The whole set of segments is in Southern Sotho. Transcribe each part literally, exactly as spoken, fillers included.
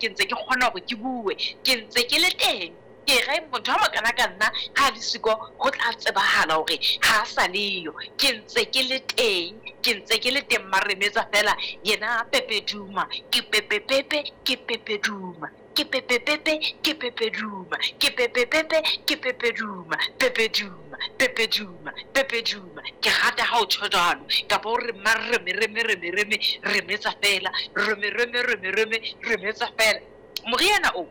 Ke ntse ke kgona hore ke bue, ke ntse ke le teng. Ke re motho a mokana ka nna ha le siko ho tla tsebahala hore ha sa leyo. Ke ntse ke le teng, ke ntse ke le teng maremetsa fela yena Pepe Duma, ke Pepe Pepe, ke Pepe Duma, ke Pepe Pepe, ke Pepe Duma, ke Pepe Pepe, ke Pepe Duma, Pepe Duma, Pepe Duma, Pepe Duma. Ke rata ha o tjho jwalo, kapa o re mareme reme reme reme remetsa fela, reme reme reme reme remetsa fela. Moriana o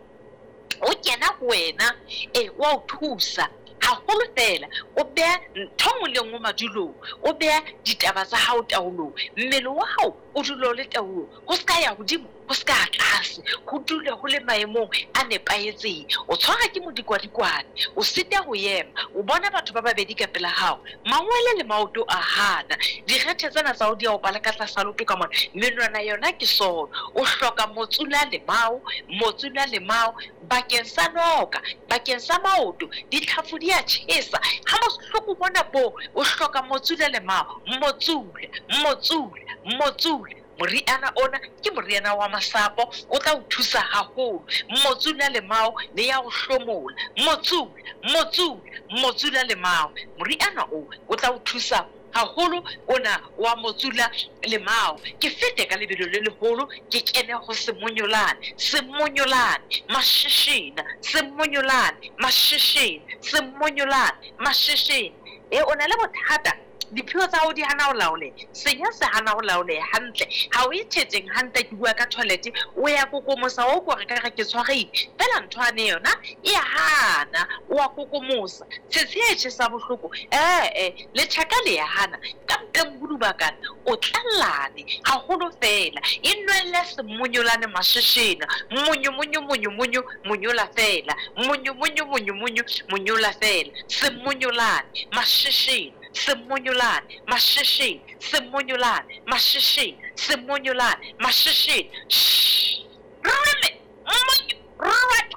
o kena ho wena, e wa o thusa haholo fela. O beha ntho nngwe le nngwe madulong, o beha ditaba tsa hao taolong, mmele wa hao o dule o le taolong, ho ska ya hodimo, ho ska ya tlase, ho dule ho le maemong a nepahetseng. O tshwara ke modikwadikwane, o sita ho ema, o bona batho ba babedi ka pela hao, mangwele le maoto a hana, direthe tsena tsa hao di a opala ka tlasa leoto ka mona, menwana yona ke sono. O hloka motsula lemao, motsula lemao bakeng sa noka, bakeng sa maoto, ditlhafu di a tjhesa ha bohloko bona bo. O hloka motsula lemao, motsula, motsula, motsula. Moriana ona ke moriana wa masapo, o tla o thusa haholo. Motsula lemao le ya o hlomola, motsula, motsula, motsula lemao. Moriana o o tla o thusa haholo ona wa motsula lemao. Ke fete ka lebelo le leholo, ke kene ho semonyolane, semonyolane masheshena, semonyolane masheshena, semonyolane masheshena. E o na le bothata, diphio tsa hao di hana ho laoleha, senya se hana ho laoleha hantle, ha o e thetseng hantle. Ke bua ka toilet, o ya kokomosa, o utlwa hore ka re ke tshwarehile fela, ntho ane yona e ya hana, o a kokomosa tshetshe e tjhesa bohloko, ee letjhaka le ya hana ka mpeng ho dubakana, o tlallane haholo fela. E nwelle semonyolane masheshena, monyo monyo monyo monyo monyola fela, monyo monyo monyo monyo monyola fela, semonyolane masheshena, semonyolane masheshena, semonyolane masheshena, semonyolane masheshena. Reme monyo rwat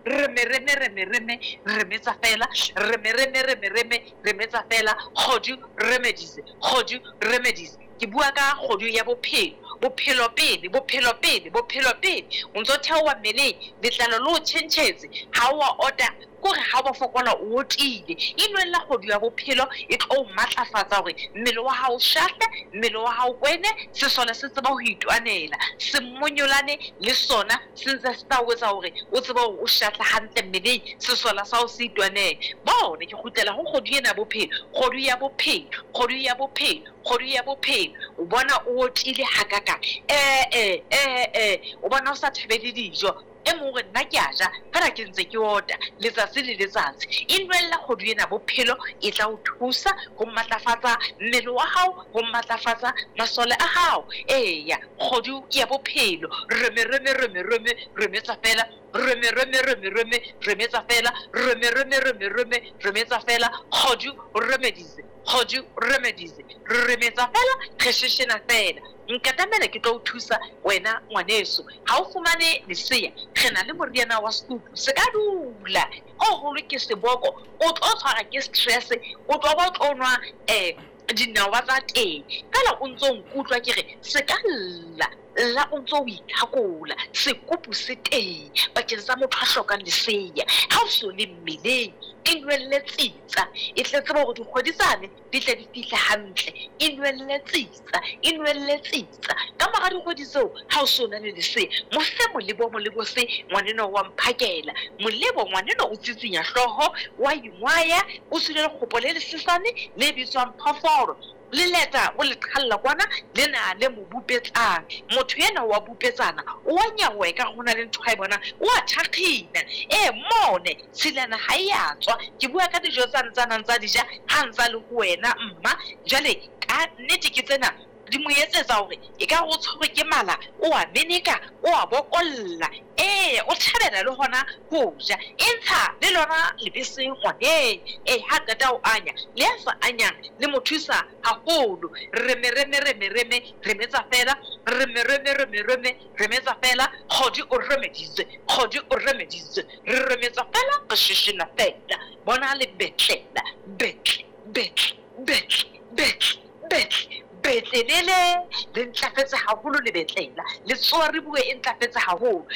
reme reme reme reme remetsa fela, reme reme reme reme remetsa fela. Kgodu remedies, kgodu remedies. Ke bua ka kgodu ya bophelo, bophelo pele, bophelo pele, bophelo pele. O ntso theoha mmeleng, letlalo le o tjhentjhetse, ha o a ota, kore ha o fokola o otile. E nwella kgodu ya bophelo, e tlo o matlafatsa hore mmele wa hao o shahle, mmele wa hao kwene, sesole se tseba ho itwanela. Semonyolane le sona se ntse se tla o etsa hore o tsebe hore o shahle hantle mmeleng, sesole sa hao se itwanele. Bone ke kgutlela ho kgodu ena ya bophelo, kgodu ya bophelo, kgodu ya bophelo, kgodu ya bophelo. O bona o otile hakakang, eh eh eh eh, o bona o sa thabele dijo. E mong hore nna ke a ja fela ke ntse ke ota letsatsi le letsatsi. E nwella kgodu ena bophelo, e tla o thusa ho matlafatsa mmele wa hao, ho matlafatsa masole a hao. Eya, kgodu ya bophelo, reme reme reme reme remetsa fela, reme reme reme reme remetsa fela, reme reme reme reme remetsa fela. Kgodu remedies, kgodu remedies, re remetsa fela, re sheshena fela. Nkatamela ke tlo o thusa wena ngwaneso. Ha o fumane lesea, re na le moriana wa sekupu, se ka dula o holo ke seboko, o tlo tshwara ke stress, o tlo ba o tlo nwa eh dinawa tsa teng fela. O ntso nkutlwa ke re se ka lla lla, o ntso o ithakola. Sekupu se teng bakeng sa motho a hlokang lesea. Ha o so le mmeleng, e nwelle tsitsa, e tle tsebe hore dikgwedi tsane di tle di fihle hantle. E nwelle tsitsa, e nwelle tsitsa. Ka mora dikgwedi tseo, ha o so na le lesea, mo fe molebo, molebo se ngwaneno wa mphakela molebo. Ngwaneno o tsitsinya hlooho, wa ingwaya, o tswile lekgopo le lesesane le bitswang phoforo, le leta o le qhalla kwana, le na le mo bupetsang. Motho ena wa bupetsana, o wa nyaoha ekare ho na le ntho a e bonang, o a thakgina. E mone tshilana ha e a tswa. Ke bua ka dijo tsane tsa nang tsa di ja ha ntsa le ho wena mma. Jwale ka nnete ke tsena di mo etsetsa hore e ka o tshwerwe ke mala, o a meneka, o a bokolla, ee o thabela le hona ho ja. E ntsha le lona lebese ngwaneng, ee ha qeta ho anya, le ya sa anyang le mo thusa haholo. Reme reme reme reme remetsa fela, reme reme reme reme remetsa fela. Kgodi o remeditse, kgodi o remeditse, re remetsa fela, re sheshena fela. Bona le betlela, betle betle betle betle betle. Betlelele le ntlafetse haholo le betlela. Letsowa re bue e ntlafetse haholo.